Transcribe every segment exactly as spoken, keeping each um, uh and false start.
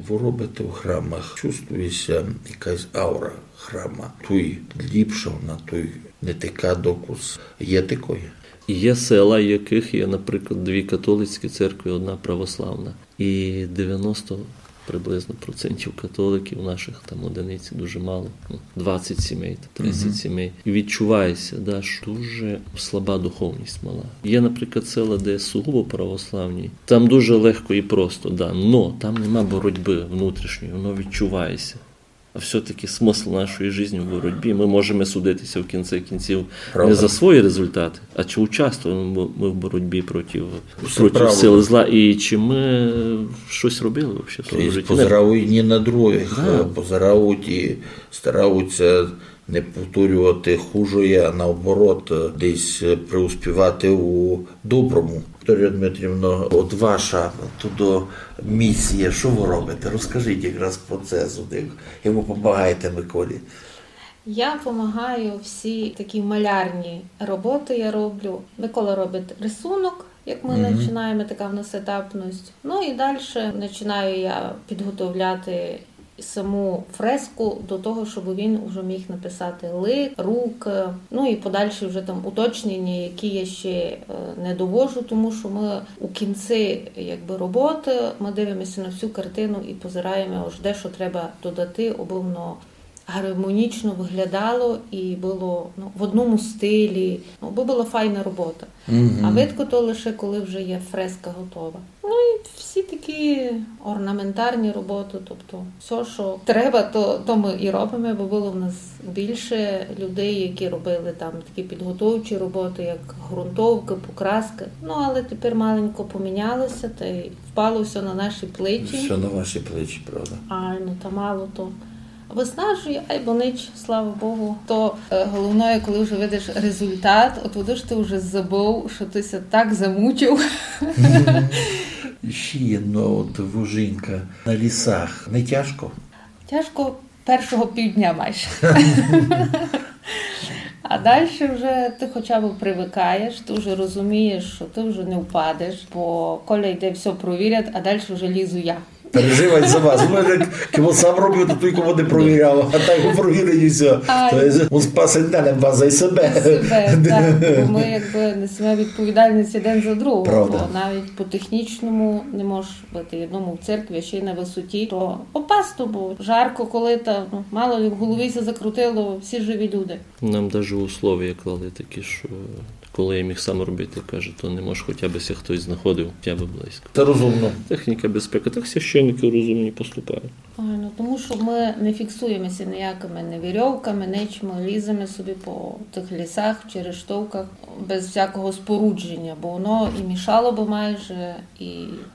Вы робите в храмах, чувствує ся якась аура храма. Туй ліпша вона, туй не така докус. Є такоє? Є села, яких є, наприклад, дві католицькі церкви, одна православна. І девяносто приблизно процентів католиків наших, там одиниці дуже мало, ну, двадцять сімей, тридцять сімей. І відчувається, да, що дуже слаба духовність мала. Є, наприклад, села, де сугубо православні. Там дуже легко і просто, да, но там нема боротьби внутрішньої, воно відчувається. А все-таки смысл нашої житті в боротьбі. Ми можемо судитися в кінці кінців не за свої результати, а чи участвуємо ми в боротьбі проти, проти сил зла, і чи ми щось робили взагалі в своєму житті. Позирають не на других, да, е, позирають і стараються не повторювати хужоє, а наоборот, е, десь, е, преуспівати у доброму. Вікторія Дмитрівна, от ваша туди місія, що ви робите? Розкажіть якраз про це, як ви допомагаєте Миколі. Я допомагаю, всі такі малярні роботи я роблю. Микола робить рисунок, як ми починаємо, така в нас етапність. Ну і далі починаю я підготовляти саму фреску до того, щоб він вже міг написати лик, рук, ну і подальші вже там уточнення, які я ще, е, не довожу, тому що ми у кінці, якби, роботи, ми дивимося на всю картину і позираємо, ож де що треба додати, аби воно гармонічно виглядало і було, ну, в одному стилі, ну, аби була файна робота. А видко то лише, коли вже є фреска готова. Ну і всі такі орнаментарні роботи, тобто все, що треба, то, то ми і робимо, бо було в нас більше людей, які робили там такі підготовчі роботи, як ґрунтовки, покраски. Ну, але тепер маленько помінялося, та й впало все на наші плечі. Все на ваші плечі, правда. Ай, ну, та мало то. Виснажує, айбо нич, слава Богу. То, е, головне, коли вже видиш результат, от видиш, ти вже забув, що ти ся так замучив. І ще єдно, от ви жінка на лісах. Не тяжко? Тяжко першого півдня майже. А далі вже ти хоча б привикаєш, ти вже розумієш, що ти вже не впадеш, бо Коля йде, все провірять, а далі вже лізу я. Переживать за вас. Ну, як, як він сам робив, то тільки не провіряв, а так він провірить і все. А, то є, він спасить не лише вас, а й себе. Себе, так. Бо ми якби несемо відповідальність один за другого. Правда. Бо навіть по технічному не можеш бути одному в церкві, а ще й на висоті. То опасно, бо жарко, коли та, ну, мало ли в голові ся закрутило, всі живі люди. Нам даже условия клали такі, що коли я міг сам робити, каже, то не може, хоча б ся хтось знаходив, хоча б близько. Це розумно. Техніка безпеки. Так священники розумні поступають. Ой, ну, тому що ми не фіксуємося ніякими не вірьовками, нич, ми ліземо собі по тих лісах, в черештовках, без всякого спорудження, бо воно і мішало би майже, і...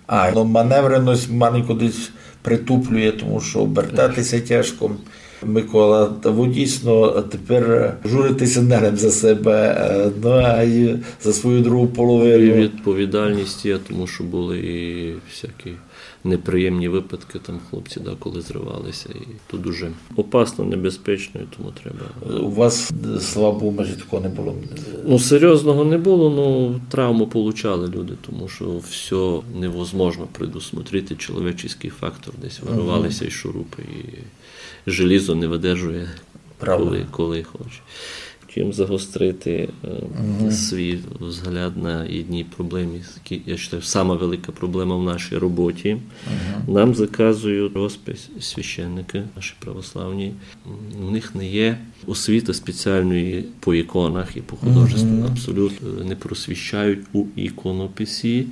А, ну, маневреність маленько десь притуплює, тому що обертатися тяжко. Микола, та ви дійсно тепер журитеся не лише за себе, е, ну, а й за свою другу половину. І відповідальність є, тому що були і всякі неприємні випадки, там хлопці деколи зривалися, і то дуже опасно, небезпечно, і тому треба. У вас, слава Богу, майже такого не було? Ну, серйозного не було, ну, травму получали люди, тому що все невозможно предусмотрити, чоловічий фактор, десь вирвалися і шурупи, і желізо не видержує, правда, коли, коли хоче. Хотів загострити, е, свій взгляд на одній проблемі, які, я вважаю, сама велика проблема в нашій роботі. Нам заказують розпис священники, наші православні. М, у них не є освіти спеціальної по іконах і по художеству. Абсолютно не просвіщають у іконописі,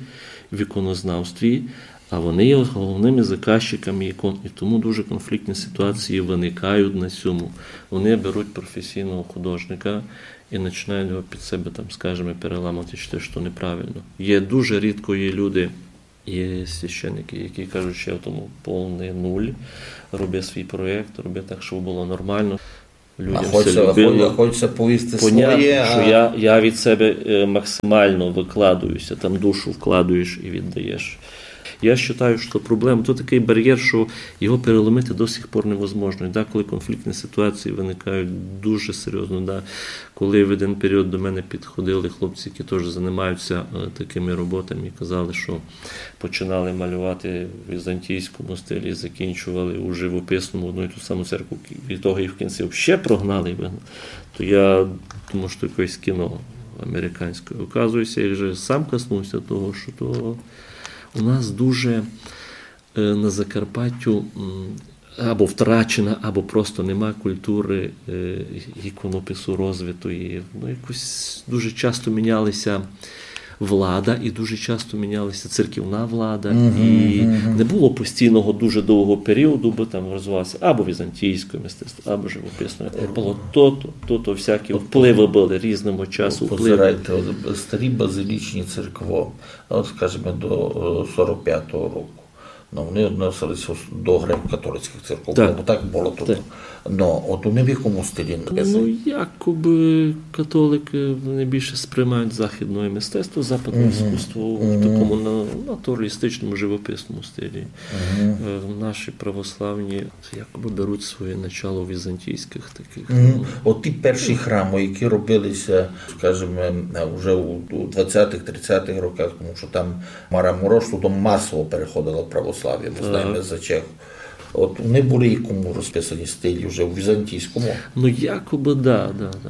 в іконознавстві. А вони є головними заказчиками ікон, і тому дуже конфліктні ситуації виникають на цьому. Вони беруть професійного художника і починають його під себе, там, скажімо, переламувати, що, що неправильно. Є дуже рідко є люди, є священники, які кажуть, що я в тому повний нуль, роби свій проєкт, роби так, щоб було нормально. Людям все любило. Хочеться повісти своє, що я, я від себе, е, максимально викладуюся, там душу вкладуєш і віддаєш. Я вважаю, що проблема, то такий бар'єр, що його переломити до сих пор невозможно. І деколи конфліктні ситуації виникають дуже серйозно. Да. Коли в один період до мене підходили хлопці, які теж займаються е, такими роботами, і казали, що починали малювати в візантійському стилі, закінчували у живописному одну і ту саму церкву, і того і в кінці ще прогнали і вигнали, то я думав, що якесь кіно американське. Оказується, я вже сам коснувся того, що то у нас дуже е, на Закарпаттю м, або втрачена, або просто нема культури е, іконопису розвитої. Ну, якось дуже часто мінялися влада, і дуже часто мінялася церковна влада, і не було постійного дуже довгого періоду, бо там розвивалося або візантійське мистецтво, або живописне. Було то-то, то-то, всякі впливи були різному часу, впливи. Позирайте, от старі базилічні церкви, от, скажімо, до е, сорок п'ятого року. Ну, вони відносилися до греко-католицьких церков, Так. Бо так було тут. Ну, от вони в якому стилі написані? Ну, якоби католики вони більше сприймають західне мистецтво, западне іскусство в такому на- натуралістичному, живописному стилі. Е, Наші православні якоби беруть своє начало в візантійських таких. Мгм. От ті перші храми, які робилися, скажімо, вже у у двадцятих-тридцятих роках, тому що там Мараморош, то масово переходило в православ'я, ми знаємо за чех. От вони були якому розписані стилі вже у візантійському. Ну, якоби, да, да, да.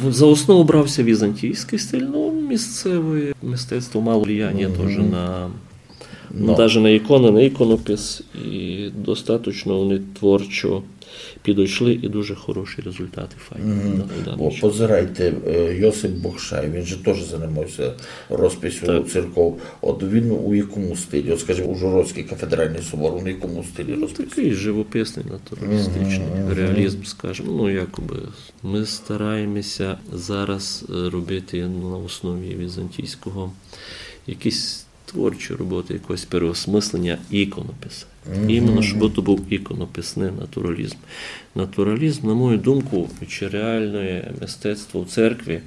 В- За основу брався візантійський стиль, ну, місцеве мистецтво мало влияння теж на, ну, навіть на ікони, на іконопис, і достатньо вони творчо підійшли, і дуже хороші результати, файні. Да, да, Бо що- позирайте, е, Йосип Бокшай, він же теж займався розписю церков. От він у якому стилі, от, скажімо, Ужгородський кафедральний собор, у якому стилі розписує? Такий живописний, натуралістичний реалізм, скажімо. Ну, якоби ми стараємося зараз е, робити на основі візантійського якісь творчі роботи, якогось переосмислення іконопису. Іменно, щоб то був іконописний натуралізм. Натуралізм, на мою думку, чи реальне мистецтво в церкві,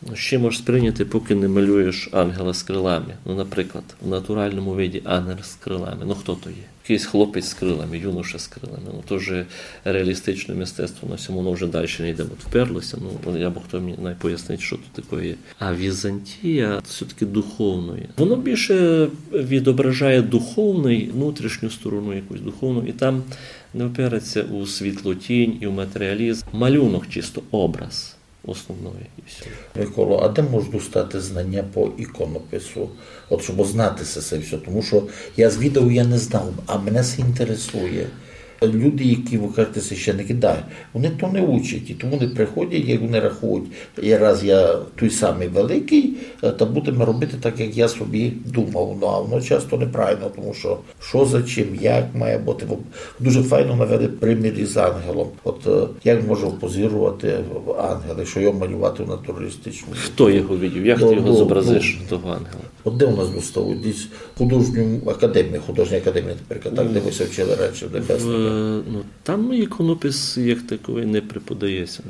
ну, ще можеш сприйняти, поки не малюєш ангела з крилами. Ну, наприклад, в натуральному виді ангел з крилами. Ну, хто то є? Якийсь хлопець з крилами, юноша з крилами. Ну, то вже реалістичне мистецтво на сьому, воно вже далі не йде, от вперлося. Ну, от я б хто мені най пояснить, що тут таке є. А Візантія все-таки духовне. Воно більше відображає духовний, внутрішню сторону якусь духовну, і там не опирається у світлотінь і у матеріалізм. Малюнок чисто, образ основний і все. Миколо, а де можу достати знання по іконопису? От щоб знати се, се все, тому що я звідав, я не знав, а мене се інтересує. Люди, які, ви кажете, священники, да, вони то не учать, і тому вони приходять, як вони рахують, і раз я той самий великий, е, та будемо робити так, як я собі думав. Ну, а воно часто неправильно, тому що що за чим, як має бути. Ви дуже файно навели примір із ангелом. От е, як може позирувати ангел, якщо його малювати в натуралістичному? Хто його видів? Як ти його зобразиш, того ангела? От де у нас доставуть? Десь художню академію, художня академія тепер, так, де ви ся вчили раніше, в Небесника. Е, Ну, там іконопис як такий не преподається.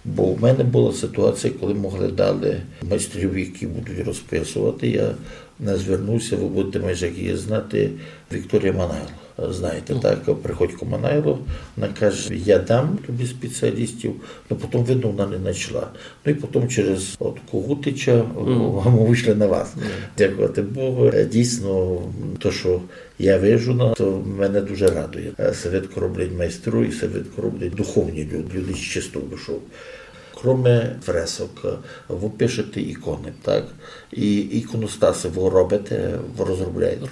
Бо в мене була ситуація, коли могли дали майстрів, які будуть розписувати. Я не звернувся, ви будете майже як її знати, Вікторія Манайло. Знаєте, так, Приходько Манайло, вона каже: я дам тобі спеціалістів, але потім, видно, вона не знайшла. Ну і потім через от Когутича ми вийшли на вас. Дякувати Богу. Е, Дійсно, то, що я вижу, ну, то мене дуже радує. Е, Се видко роблять майстру і се видко роблять духовні люди, люди з чистою душою. Кроме фресок, е, ви пишете ікони, так? І іконостаси ви робите, ви розробляєте?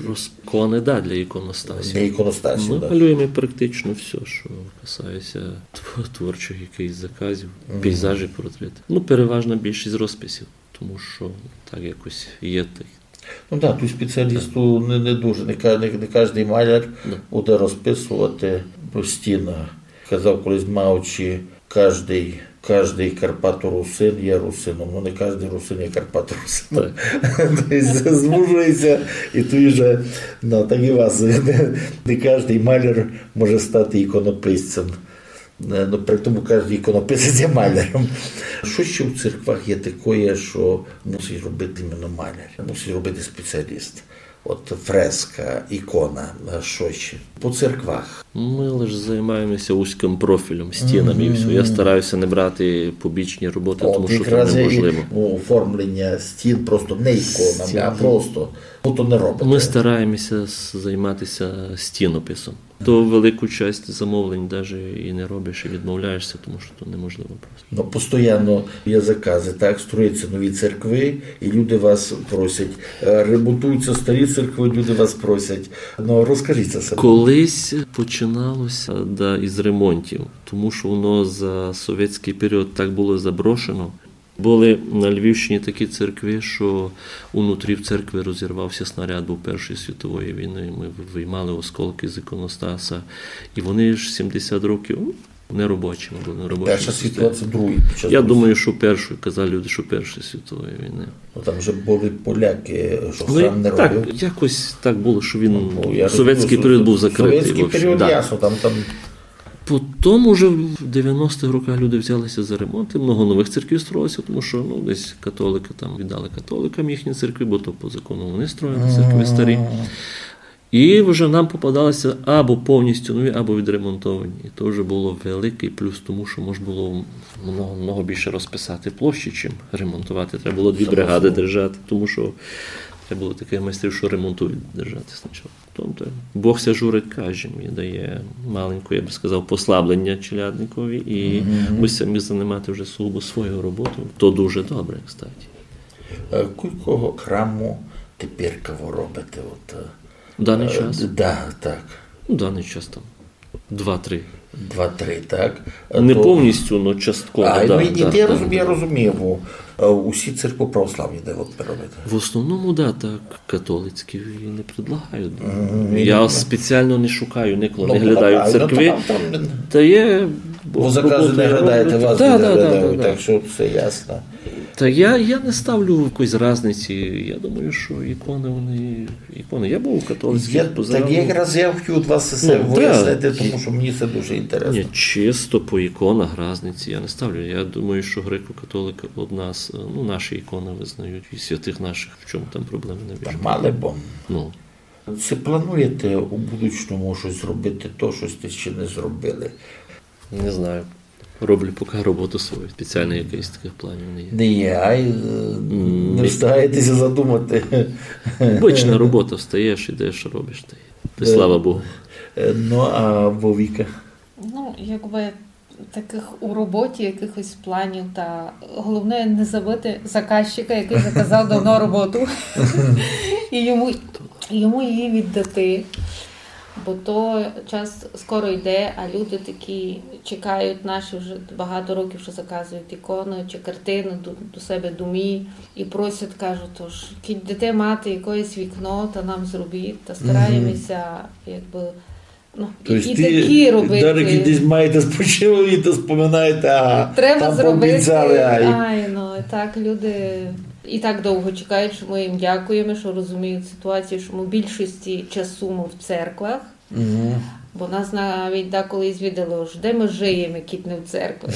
Ікони, да, для іконостасів. Для іконостасів, Ми так. Малюємо практично все, що касається тв- творчих якихось заказів, пейзажі, портрети. Ну, переважна більшість розписів, тому що так якось є так. Ну так, тут спеціалісту не, не дуже, не, ка- не, не кожен маляр буде розписувати стіну. Казав колись Мауч, кожний, кожний карпаторусин є русином, ну не кожен русин є карпаторусином. Тобто звужується, і тут вже, ну так і у вас, не, не кожен маляр може стати іконописцем. Е, Ну, при тому кожен іконописець є маляром. Що ще в церквах є такое, що мусить робити іменно маляр, мусить робити спеціаліст? От фреска, ікона, е, што ще? По церквах. Мы лише займаємося вузькым профілем, стінами і всьо. Я стараюся не брати побічні роботы, тому што то неможливо. Оформлення стін просто не іконами, а просто. Ну, то не робите. Мы стараємося с-, займатися стінописом. То велику часть замовлень даже і не робиш, і відмовляєшся, тому што то неможливо просто. Ну, постоянно є заказы, так, строяться нові церкви, і люди вас просять, е, ремонтуються старі церкви, люди вас просять. Ну, розкажіть за себе. Колись починалося, да, із ремонтів, тому што воно за совєтськый період так было заброшено. Были на Львівщині такі церкви, што унутрі в церкви розірвався снаряд, быв Першої світової війни, мы виймали осколкы з іконостаса, і вони ж сімдесят років, ну, неробочими были, неробочими. Перша світова — це другий під час Росії. Я думаю, што Першої, казали люди, што Першої світової війни. Ну, там же были поляки, што храм не робив. Ну, так, якось так было, што він, совєтськый період быв закрытый. Совєтськый період, ясно, там, там. Потім уже в девяностых роках люди взялися за ремонт, і много новых церквів строїлося, тому што, ну, десь католикы там віддали католикам їхні церкви, бо то по закону вони строїли церкви старі. І вже нам попадалися або повністю нові, або відремонтовані. І то вже было великый плюс, тому што мож было много, много більше розписати площі, чим ремонтовати. Треба было дві бригады держати, тому што треба было такых майстрів, што ремонтують, держати спочатку. Тобто Бог ся журить каждым і дає маленьке, я бы сказав, послабленя челядникові, і мы ся міг занимати вже сугубо своєю роботою. То дуже добре, кстати. Е, кілько храму теперка вы робите? От, е, в даный час? Да, так. Ну, в даный час там два-три. Два-три, так? Не повністю, но частково, да, да. А, ну, і я розумію, я розумію, е, усі церкви православні, де от вы робите? В основному, да, так, католицькі і не предлагаю. Я спеціално не шукаю, николи не глядаю церкви. Та є, бо заказы не глядаєте, вас не глядають, так што всьо ясно. Та я, я не ставлю якоїсь разниці. Я думаю, што іконы, вони іконы. Я быв у католицькых, позирав. Так якраз я хотів од вас се выяснити, тому што мені се дуже інтересно. Ні, чисто по іконах разниці я не ставлю. Я думаю, што греко-католикы од нас, е, ну, наші іконы визнають, і святых нашых, в чому там проблемы найбільше. Та мали б. Ну. Ци плануєте у будучому штось зробити, то, што сьте ще не зробили? Не знаю. Роблю поки роботу свою. Спеціално якыхось такых планів не є. Не є, ай, е, не встигаєте ся задумати. Обычна робота, встаєш, ідеш, робиш, та й, та й слава Богу. Е, ну, а Вовіка? Ну, якбы такых у роботі якыхось планів, та головне не забыти заказчика, якый заказав давно роботу. І йому, йому її віддати. Бо то час скоро йде, а люди такі чекають наші вже багато років, што заказують іконы чи картины до, до себе домі. І просять, кажуть, тож, кідь дасте мати якоєсь вікно, та нам зробіть, та стараємося, якбы, ну, і, і такі робити. Треба зробити, ай, ну, так люди і так довго чекають, што мы їм дякуєме, што розуміють ситуацію, што мы більшості часу мы в церквах. Бо нас навіть деколи звідали, ож де мы жиєме, кідь не в церкви.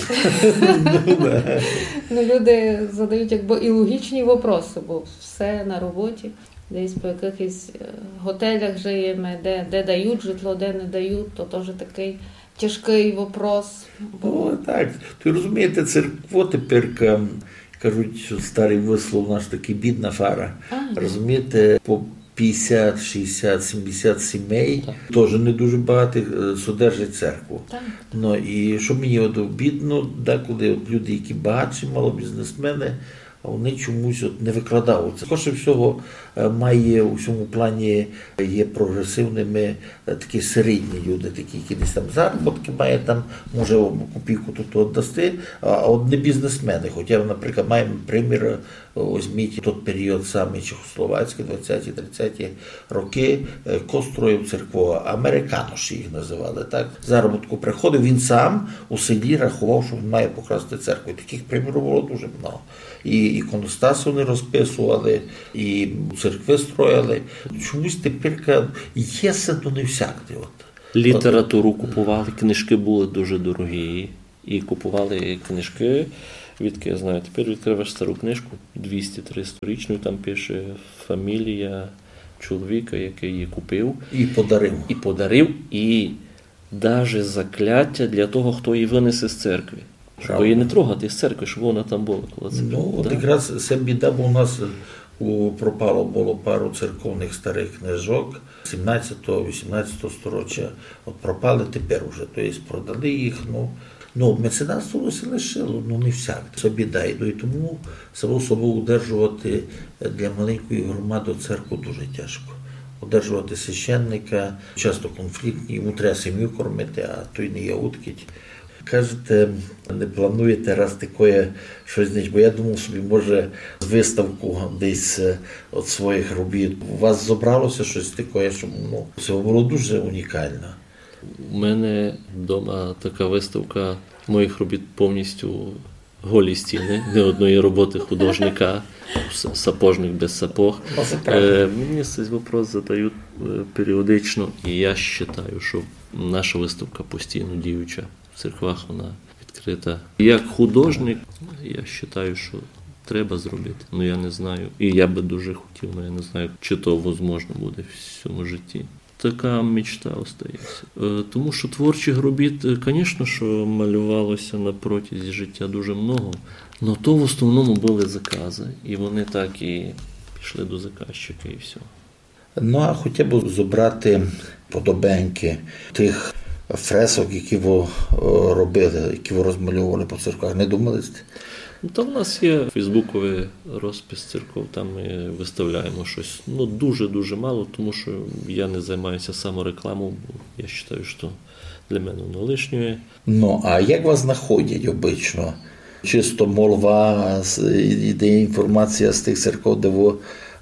Ну, люди задають якбы і логічні вопросы, бо всьо на роботі. Десь по якыхось, е, готелях жиєме, де, де дають житло, де не дають, то тоже такый тяжкый вопрос. Ну, так. Ты розумієте, церква тепер, ка-, кажуть, што старый выслов наш такый: бідна фара. Розумієте, по пятдесят, шістдесят, сімдесят сімей, тоже не дуже багатых, е, содержать церкву. Так. Ну, і што мені от обідно, деколи от люди, які багатші, мало бізнесмены, а вони чомусь от не выкладаються. Скорше всього, е, має у сьому плані є прогресивными, е, такі середні люди, такі, які десь там заробіткы мають, там, може, копійку тут оддасти, а, а от не бізнесмены. Хотя, наприклад, маєме примір, е, возьміть тот період самый чехословацькый, двадцяті, тридцяті рокы, е, ко строїв церкву, американоші їх называли, так? Заробітку приходив, він сам у селі раховав, што він має покласти церкву. І такых примірів было дуже много. І іконостасы вони розписовали, і церкви строїли. Чомусь теперка є се, но не всякде. От. Літературу купували, книжкы были дуже дорогі. І купували книжкы, відкы я знаю, тепер відкриваш стару книжку, двісті-триста річну, і там пише фамілія, чоловіка, якый її купив. І подарив. І подарив, і даже заклятя для того, хто її вынесе з церкви. Щоб її не трогати з церкви, щоб вона там была коло церкви. Ну, от якраз се біда, бо у нас у, пропало было пару церковных старых книжок сімнадцятого, вісімнадцятого сторіччя. От пропали тепер уже, то єсть продали їх, ну, ну, меценатство се лишило, ну, не всяк. Се біда, і тому, само собою, удержовати для маленької громады церкву дуже тяжко. Удержовати священника, часто конфліктні, йому треба сім'ю кормити, а то й не є удкіть. Кажете, не плануєте раз такоє штось, бо я думав собі, може, выставку десь, е, од своїх робіт. У вас зобрало ся штось такоє, што, ну, се было дуже унікално. У мене дома така выставка моїх робіт, повністю голі стіны, ні одної роботы художника, с-, сапожник без сапог. Ну, се правда. Е, мені цей вопрос задають, е, періодично, і я считаю, што наша выставка постійно діюча. В церквах вона відкрита. Як художник, я считаю, што треба зробити. Ну, я не знаю. І я бы дуже хотів, но я не знаю, чи то возможно буде в сьому житті. Така мечта остається. Е, тому што творчих робіт, е, конечно, што малювало ся на протязі життя дуже много, но то в основному были заказы, і вони так і пішли до заказчика, і всьо. Ну, а хотів бы зобрати подобенькы тых фресок, які вы, е, робили, які вы розмальовували по церквах, не думали сьте? Ну, та в нас є фейсбуковый розпис церков, там мы выставляємо штось. Ну, дуже-дуже мало, тому што я не займаю ся саморекламов, бо я считаю, што для мене воно лишнє. Ну, а як вас знаходять обычно? Чисто молва, з-, і-, іде інформація з тых церков, де вы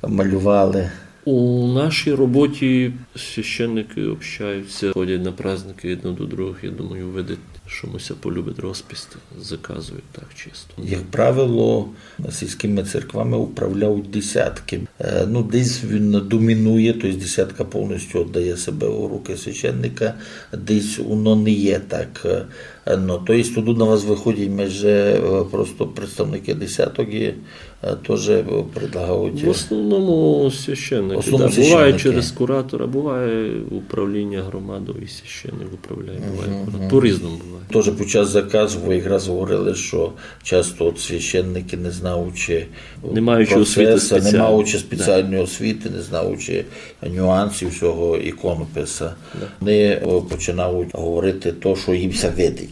малювали? У нашій роботі священникы общаються, ходять на праздникы єдно до другых. Я думаю, видять, што му ся полюбить розпис, заказують так чисто. Як правило, сільськыми церквами управляють десяткы. Е, ну, десь він домінує, то єсть десятка повністю віддає себе у руки священника, десь воно не є так, е, Е, ну, то єсть, туды на вас выходять майже, е, просто представникы десяток і, е, тоже, е, предлагають, е, в основному священникы, в основному да. Буває священникы. Через куратора, буває управління громадов і священник управляє, буває куратор. По-різному буває. Тоже під час заказу вы якраз говорили, што часто от священникы, не знаючи, е, не маючи освіты спеціальної, не маючи спеціальної освіты, не знаючи нюансів сього іконописа. Да. Вони, о, починають говорити то, што їм ся видить.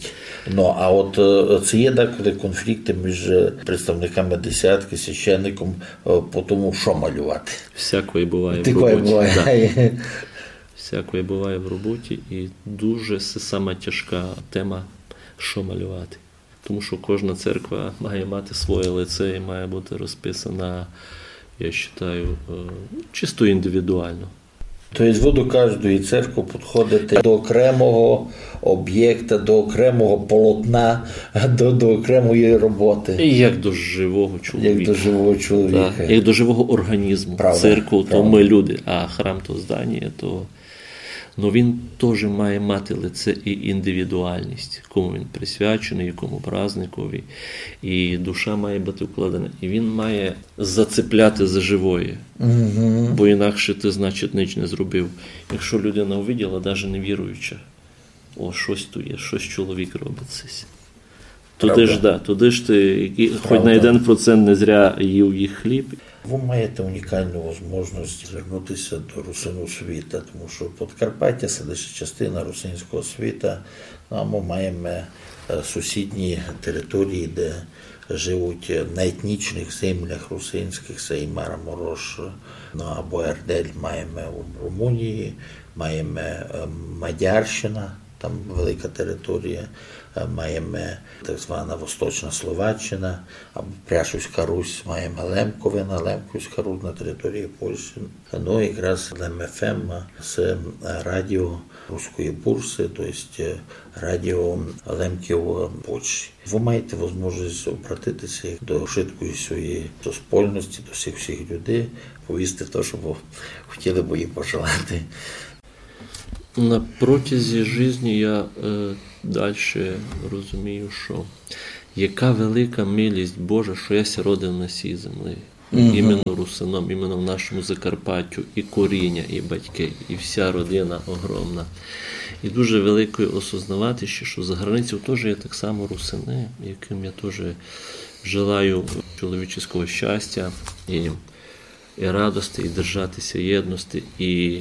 Ну, а от, е, ци є деколи конфлікты між, е, представниками десяткы, священником, е, по тому, што малювати? Всякоє буває в роботі. Такоє буває. Да. Всякоє буває в роботі, і дуже се сама тяжка тема, што малювати. Тому што кожна церква має мати своє лице і має бути розписана, я считаю, е, чисто індивідуално. То єсть вы до каждої церкви підходите до окремого обєкта, до окремого полотна, до, до окремої роботи. І як до живого чоловіка. Як до живого чоловіка. Так, як до живого організму. Правда, правда. Церква, то мы люди, а храм то здання, то Но він тоже має мати лице і індивідуальность, кому він присвяченый, якому праздникові. І душа має быти вкладена. І він має зацепляти за живоє. Бо інакше ты, значить, нич не зробив. Якщо людина увиділа, даже не віруюча, о, штось туй є, штось чоловік робить сись. Туды ж, да, туды ж ты, які, хоть на єден процент не зря їв їх хліб. Вы маєте унікалну возможность звернути ся до русинів світа, тому што Подкарпаття — се лише частина русинського світа, ну, а мы маєме, е, сусідні території, де живуть на етнічных землях русинськых, се і Мараморош, ну, або Ердель маєме у Румунії, маєме, е, Мадярщина, там велика територія, е, маєме так звана Восточна Словаччина, або Пряшівська Русь, маєме Лемковина, Лемківська Русь на території Польщі. Ну, якраз Лем Ф М — се, е, радіо Руської Бурсы, то єсть, е, радіо лемків, е, Польщі. Вы маєте возможность обратити ся до вшыткої своєї суспольности, до всіх, всіх людей, повісти то, што бы хотіли бы їм пожелати. На протязі жизни я, е, дальше розумію, што яка велика милість Божа, што я ся родив на сій землі. Мгм. Іменно русином, іменно в нашому Закарпаттю, і коріння, і батьки, і вся родина огромна. І дуже великоє осознавати ще, що за границею теж є так само русини, яким я теж желаю чоловічого щастя і, і радости, і держатися єдності, і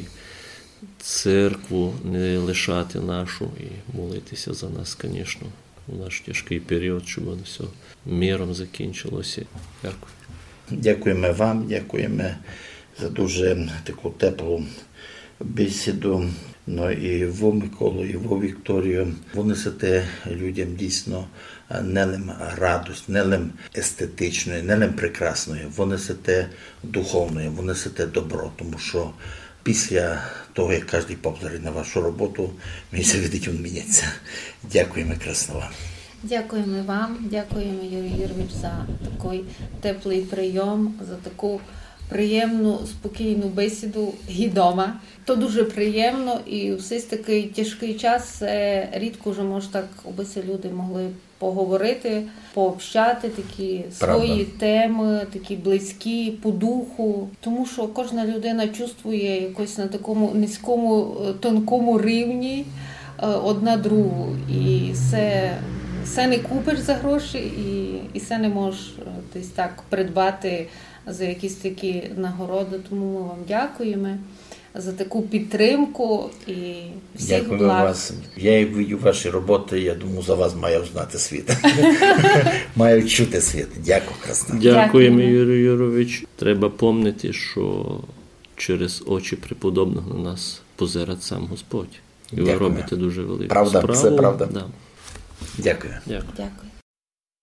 церкву не лишати нашу, і молитися за нас, звісно, у наш тяжкий період, щоб воно все миром закінчилося. Дякую. Дякуєме вам, дякуєме за дуже таку теплу бесіду. Ну і ви, Миколо, і ви, Вікторію. Ви несете людям дійсно, е, не лим радость, не лим естетичної, не лим прекрасної. Ви несете духовної, ви несете добро, тому що після того, як кожен повторить на вашу роботу, мені ся видить, він міняється. Дякуєме красно вам. Дякуєме вам, дякуєме, Юрій Юрович, за такый теплый прийом, за таку приємну, спокійну бесіду ги дома. То дуже приємно, і в сей такый тяжкый час се рідко вже мож так, обы се люди могли поговорити, пообщати такі свої темы, такі близькі по духу. Тому що кожна людина чувствує якось на такому низькому, е, тонкому рівні, е, одна другу. І се, се не купиш за гроші, і, і се не можеш, е, десь так придбати за якісь такі нагороди. Тому ми вам дякуємо за таку підтримку і всіх благ. Вас. Я як видю ваші роботи, я думаю, за вас має знати світ. Має чути світ. Дякую, красно. Дякуєме, Юрій Юрович. Треба помнити, що через очі преподобного на нас позирать сам Господь. І ви робите дуже велику справу. Правда, все правда. Дякую. Дякую.